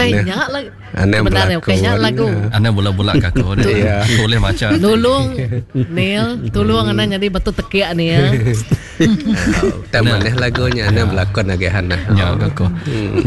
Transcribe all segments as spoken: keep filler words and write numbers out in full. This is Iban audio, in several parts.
Ukai nya lagu. Benar ukai nya lagu. Anda bula-bula ke aku ni. Aku boleh maca. Nulung Neil, tulung anda jadi batu tekiak ni ya. Tak mana lagunya anda berlakon lagi Hana. Ya aku.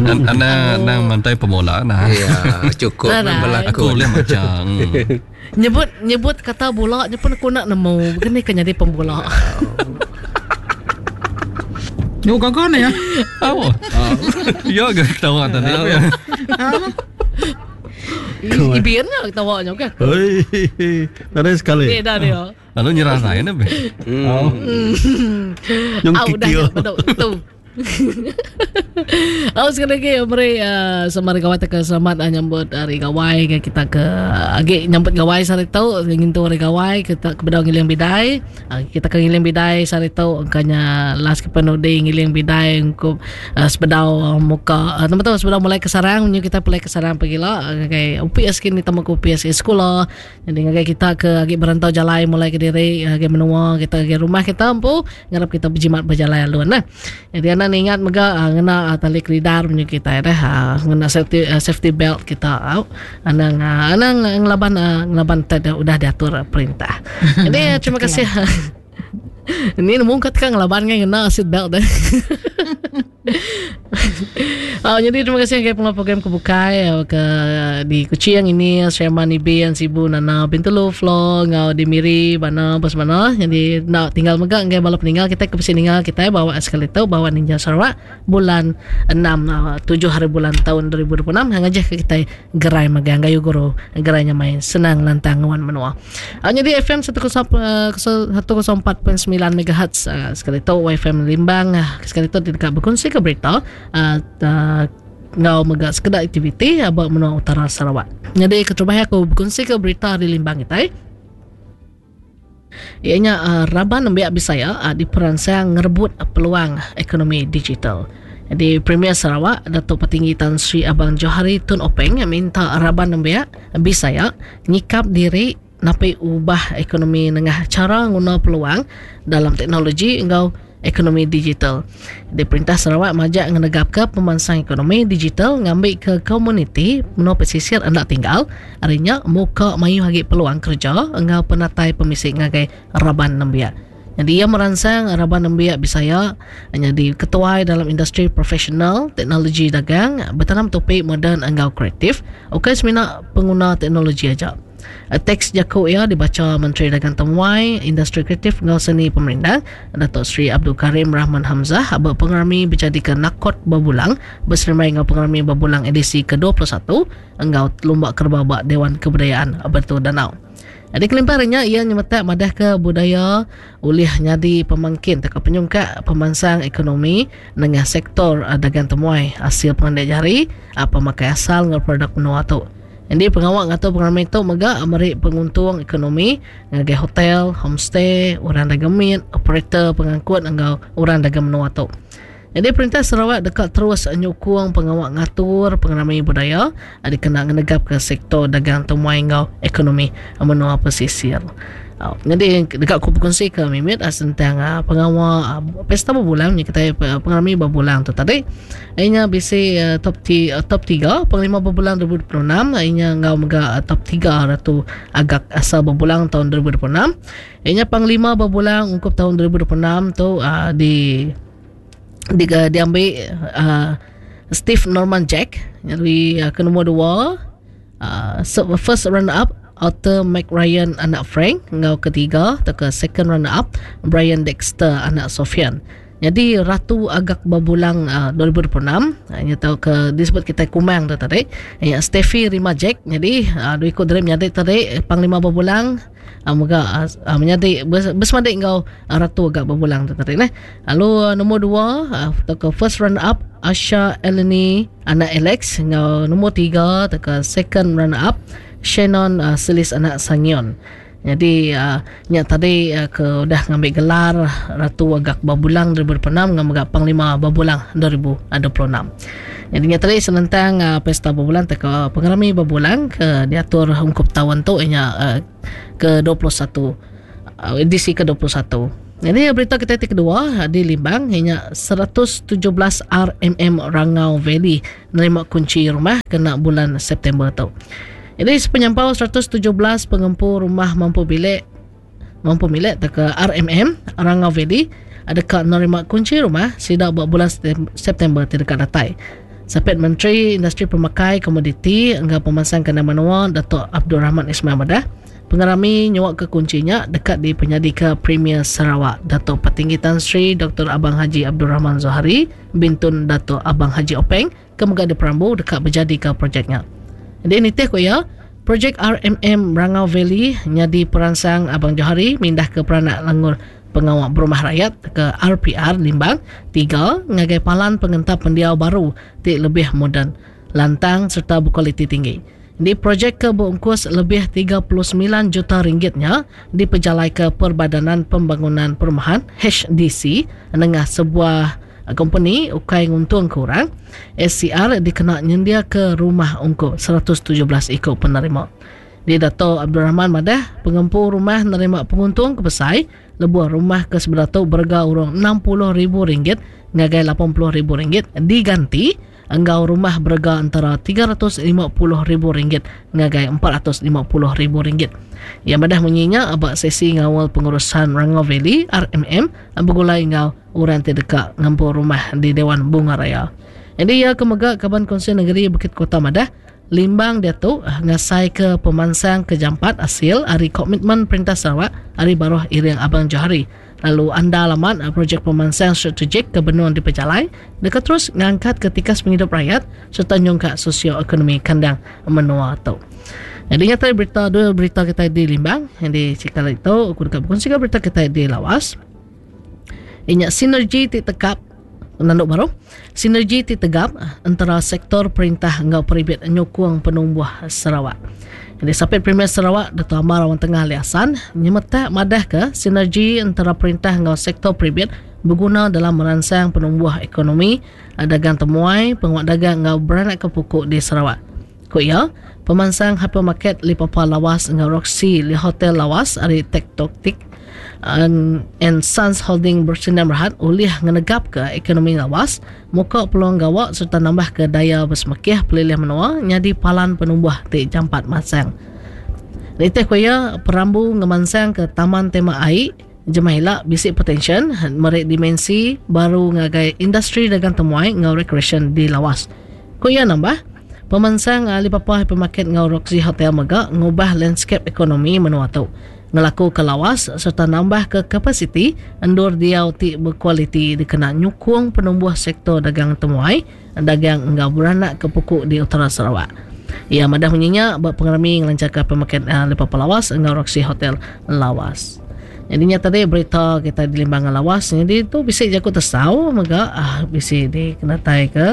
Anda nang mantai pemula nah. Ya, cukup berlakon. Aku boleh maca. Nyebut nyebut kata bula nya pun aku nak nemu. Begini kan jadi pembula. Yo gaga ni ya. Oh. Ya ke ketawa tadi. Ibin nya ketawa nya ke. Oi. Nadai sekali. Eh dah dia. Lalu nyerah saya ni. Oh. Yang kikil. Tu. Oh, sekali lagi beri uh, selamat gawai ke selamat uh, nyambut hari gawai ke kita ke agi nyambut gawai sehari tu ngintu hari gawai kita ke bedau ngiling bidai uh, kita ke ngiling bidai sehari tu angkanya last ke penudi ngiling bidai untuk uh, sebedau uh, muka uh, teman-teman sebedau mulai ke sarang nyu kita mulai ke sarang pagila ngagai U P S kini tamu ke U P S sekolah jadi ngagai kita ke agi berantau jalai mulai ke diri ngagai menua kita ngagai rumah kita empu ngarap kita berjimat berjalai alun nah. Jadi anak ingat mega uh, ngena uh, tali kelidar punya kita dah uh, ngena safety uh, safety belt kita uh, anang uh, anang ngelaban uh, ngelaban tada udah diatur uh, perintah. Jadi uh, terima kasih. Ini nemu kat kan ngelaban ngena seat belt dah. Oh, jadi terima kasih ke pengelola program kebukai ke di Kuching ini Sherman Ibi yang Sibu Nana Bintulu Flo ngau di Miri bana bos mana. Jadi nak tinggal mega ngai bala peninggal kita ke peninggal kita bawa sekali tu bawa Ninja Sarawak bulan enam tujuh hari bulan tahun dua ribu dua puluh enam hang aja ke kita gerai mega gayu guru gerainya main senang lantang wan menua. Oh, jadi F M seratus empat perpuluhan sembilan megahertz sekali tu F M Limbang sekali tu dekat berkongsi ke berita uh, uh, ngau mega sekedar aktiviti abang menua utara Sarawak. Jadi keterubah aku berkongsi ke berita di Limbang kita. Ianya uh, raban nembiak Bisaya uh, di peransang ngerebut peluang ekonomi digital. Jadi Premier Sarawak Datuk Patinggi Tan Sri Abang Johari Tun Openg minta raban nembiak Bisaya nyikap diri napi ubah ekonomi nengah cara nguna peluang dalam teknologi engau ekonomi digital. Di Perintah Sarawak majak ngenegap ke pemansang ekonomi digital ngambil ke komuniti menua pesisir hendak tinggal arinya muka mayu hagi peluang kerja engau penatai pemisik ngagai raban nembiak. Jadi ia merangsang raban nembiak Bisaya jadi ketua dalam industri profesional teknologi dagang bertanam topik moden engau kreatif. Okey semina pengguna teknologi aja. Teks jakuk ia dibaca Menteri Dagang Temuai, Industri Kreatif Ngau Seni Pemerintah Datuk Seri Abdul Karim Rahman Hamzah abang pengerami berjadi ke Nakot Babulang berserimai ngau pengerami Babulang edisi ke dua puluh satu engau Lumba Kerbau Bak Dewan Kebudayaan Betul Danau. Jadi kelimparannya ia nyemetak madah ke budaya ulih nyadi pemangkin atau penyungkak pemansang ekonomi dengan sektor dagang temuai hasil pengendek jari apa pemakai asal ngau produk menua tu. Jadi pengawak atau pengarami itu mega merik penguntung ekonomi ngagai hotel, homestay, orang dagang mit, operator pengangkut engau orang dagang menua tu. Jadi Perintah Sarawak dekat terus nyukung pengawak ngatur pengarami budaya ada kena ngenegap ke sektor dagang temuai engau ekonomi menua pesisir. Uh, jadi dekat aku berkongsi ke Mimit uh, tentang uh, pengawal uh, pesta berbulan ni kita uh, pengarami berbulan tu tadi. Inya B C uh, top T, uh, top tiga panglima berbulan dua ribu dua puluh enam inya ngau mega uh, top tiga ratu agak asal berbulan tahun dua ribu dua puluh enam. Inya panglima berbulan ungkup tahun dua ribu dua puluh enam tu uh, di di uh, diambil uh, Steve Norman Jack jadi uh, ke nombor dua uh, so, first runner up Arthur McRyan anak Frank ngau ketiga atau ke second runner up Brian Dexter anak Sofian. Jadi Ratu Agak Babulang uh, dua ribu dua puluh enam uh, tahu ke disebut kita Kumang tu tadi. Ya Steffi Rima Jack jadi uh, dua ikut dari menyadi tadi Panglima Babulang uh, moga uh, menyadi bersemadik ngau uh, Ratu Agak Babulang tu tadi nah. Lalu uh, nombor dua uh, atau ke first runner up Asha Eleni anak Alex ngau nombor tiga atau ke second runner up Shannon uh, Selis anak Sangion. Jadi uh, nya tadi uh, ke udah ngambil gelar Ratu Agak Babulang dua ribu dua puluh enam ngambil Panglima Babulang dua ribu dua puluh enam. Jadi nya tadi senentang uh, pesta Babulang te ke pengarami Babulang ke diatur ungkup tahun tu nya uh, ke dua puluh satu uh, edisi ke dua puluh satu. Jadi berita kita ti kedua di Limbang hanya seratus tujuh belas R M M Rangau Valley nerima kunci rumah kena bulan September tu. Jadi sepenyampau seratus tujuh belas pengempu rumah mampu bilik mampu milik ke R M M Rangau Valley ada ka nerima kunci rumah sida buat bulan September ti dekat datai. Sapit Menteri Industri Pemakai Komoditi enggau Pemansang Kandang Menua Datuk Abdul Rahman Ismail madah pengerami nyuak ke kuncinya dekat di penyadi ke Premier Sarawak Datuk Patinggi Tan Sri Doktor Abang Haji Abdul Rahman Zohari Bintun Datuk Abang Haji Openg ke mega di Perambu dekat berjadi ke projeknya. Jadi nitih ko ya, projek R M M Rangau Valley nyadi peransang Abang Johari mindah ke peranak langur pengawal berumah rakyat ke R P R Limbang tiga ngagai palan pengentap pendiau baru ti lebih moden, lantang serta berkualiti tinggi. Di projek ke berungkus lebih tiga puluh sembilan juta ringgitnya dipejalai ke Perbadanan Pembangunan Perumahan H D C nengah sebuah company ukai nguntung kurang S C R dikena nyendia ke rumah ungkup seratus tujuh belas ikut penerima. Di Dato' Abdul Rahman madah pengempu rumah nerima penguntung kebesai lebuh rumah ke sebelah tu berga urang enam puluh ribu ringgit ngagai lapan puluh ribu ringgit diganti enggau rumah berga antara tiga ratus lima puluh ribu ringgit ngagai empat ratus lima puluh ribu ringgit. Yang madah munyinya abak sesi ngawal pengurusan Rangau Valley R M M bergulai ngau orang ti dekat ngempu rumah di Dewan Bunga Raya. Jadi ia kemega Kaban Kongsi Negeri Bukit Kota madah Limbang dia tu ngasai ke pemansang kejampat hasil hari komitmen Perintah Sarawak hari baruh Iring Abang Johari. Lalu anda alamat projek pemansang strategik ke benua di Pejalai dekat terus ngangkat ketika penghidup rakyat serta nyongkak sosioekonomi kandang menua tu. Jadi ingat tadi berita dua berita kita di Limbang yang di Cikal itu aku dekat berkongsi berita kita di Lawas. Ingat sinergi ti tekap nanduk baru sinergi ti tegap antara sektor perintah enggau peribit nyukung penumbuh Sarawak. Jadi Sapit Premier Sarawak Dato' Amar Awang Tengah Ali Hasan nyemetak madah ke sinergi antara perintah enggau sektor peribit berguna dalam merangsang penumbuh ekonomi dagang temuai penguat dagang enggau beranak ke pokok di Sarawak. Ku ia, pemansang hypermarket Lipapa Lawas enggau Roxy Li Hotel Lawas ari Tektoktik and, and Sons Holding bersinar berhad ulih ngenegap ke ekonomi Lawas muka peluang gawak serta nambah ke daya bersemekih pelilih menua nyadi palan penumbuh ti jampat masang. Nitih kuya perambu ngemansang ke Taman Tema Air Jemaila bisik potensial merik dimensi baru ngagai industri dagang temuai ngau recreation di Lawas. Kuya nambah pemansang Alibaba Hypermarket ngau Roxy Hotel mega ngubah landscape ekonomi menua tu. Ngelaku ke Lawas serta nambah ke kapasiti endur diau ti berkualiti dikena nyukung penumbuh sektor dagang temuai dagang enggau beranak ke pokok di utara Sarawak. Ia madah munyinya buat pengerami ngelancarkan pemakai uh, Lipapa Lawas enggau Roxy Hotel Lawas. Jadinya tadi berita kita di Limbangan Lawas jadi tu bisa jaku tersau mega ah bisa dikenatai ke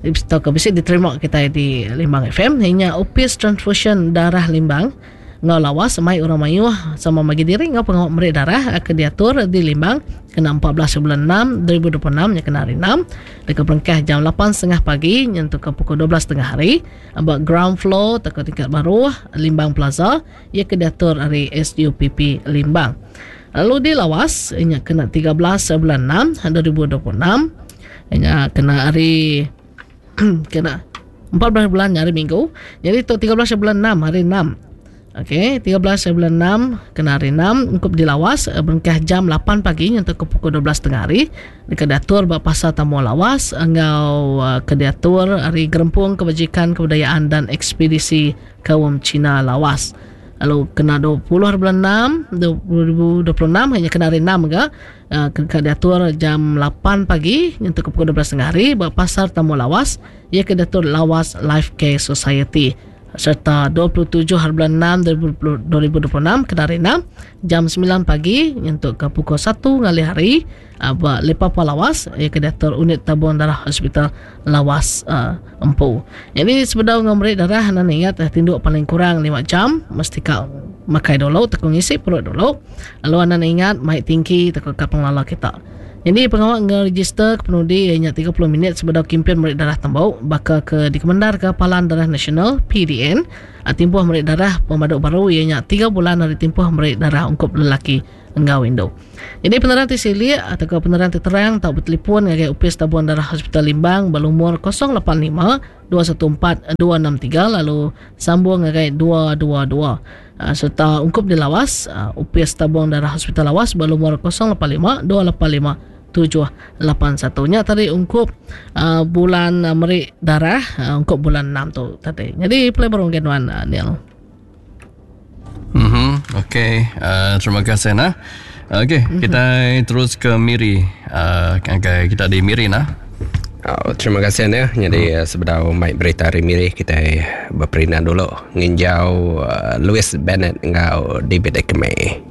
bisa ke bisa diterima kita di Limbang F M hanya Opis Transfusion Darah Limbang ngau Lawas mai orang mayuh sama bagi diri ngau pengawak merik darah ke diatur di Limbang kena empat belas bulan enam dua ribu dua puluh enam nya kena hari enam dekat perengkah jam lapan setengah pagi nyentuh ke pukul dua belas setengah hari about ground floor teko tingkat baru Limbang Plaza ia ke diatur hari S U P P Limbang. Lalu di Lawas nya kena tiga belas bulan enam dua ribu dua puluh enam nya kena hari kena empat belas bulan hari Minggu. Jadi tu tiga belas bulan enam hari enam. Okey, tiga belas bulan enam kena hari enam ungkup di Lawas berengkah jam lapan pagi nyentuh ke pukul dua belas setengah hari dekat diatur ba pasar Tamu Lawas enggau uh, ke diatur hari Gerempung Kebajikan Kebudayaan dan Ekspedisi Kaum Cina Lawas. Lalu kena dua puluh bulan enam dua ribu dua puluh enam hanya kena hari enam juga uh, ke diatur jam lapan pagi nyentuh ke pukul dua belas setengah hari ba pasar Tamu Lawas ia ke diatur Lawas Life Care Society. Serta dua puluh tujuh bulan enam dua ribu dua puluh enam kena hari enam jam sembilan pagi nyentuh ke pukul satu ngalih hari uh, Lipapa Lawas ia ke diatur unit tabung darah Hospital Lawas uh, Empu. Jadi sebedau ngomri darah nan ingat eh, tinduk paling kurang lima jam mesti kau makai dulu tekung isi perut dulu. Lalu nan ingat mai tingki tekung ka penglala kita. Jadi pengawal ngeregister ke penudi ianya tiga puluh minit sebedau kempen merik darah tembau baka ke dikemendar ke Palan Darah Nasional P D N. Timpuh merik darah pemaduk baru ianya tiga bulan dari timpuh merik darah ungkup lelaki enggau Indo. Jadi penerang ti silik atau ke penerang ti terang tau bertelefon ngagai Upis Tabung Darah Hospital Limbang berlumur kosong lapan lima dua satu empat dua enam tiga lalu sambung ngagai dua dua dua. Uh, serta ungkup di Lawas, uh, Upis Tabung Darah Hospital Lawas berlumur kosong lapan lima dua lapan lima tujuh lapan satu. Nya tadi ungkup uh, bulan uh, merik darah uh, ungkup bulan enam tu tadi. Jadi play baru genuan uh, Neil. Mhm. Okey, uh, terima kasih nah. Okey, mm-hmm. kita terus ke Miri. Uh, okay, kita di Miri nah. Oh, terima kasih ya. Jadi hmm. sebedau mai berita hari Miri kita berperinan dulu nginjau uh, Louis Bennett ngau David Ekme.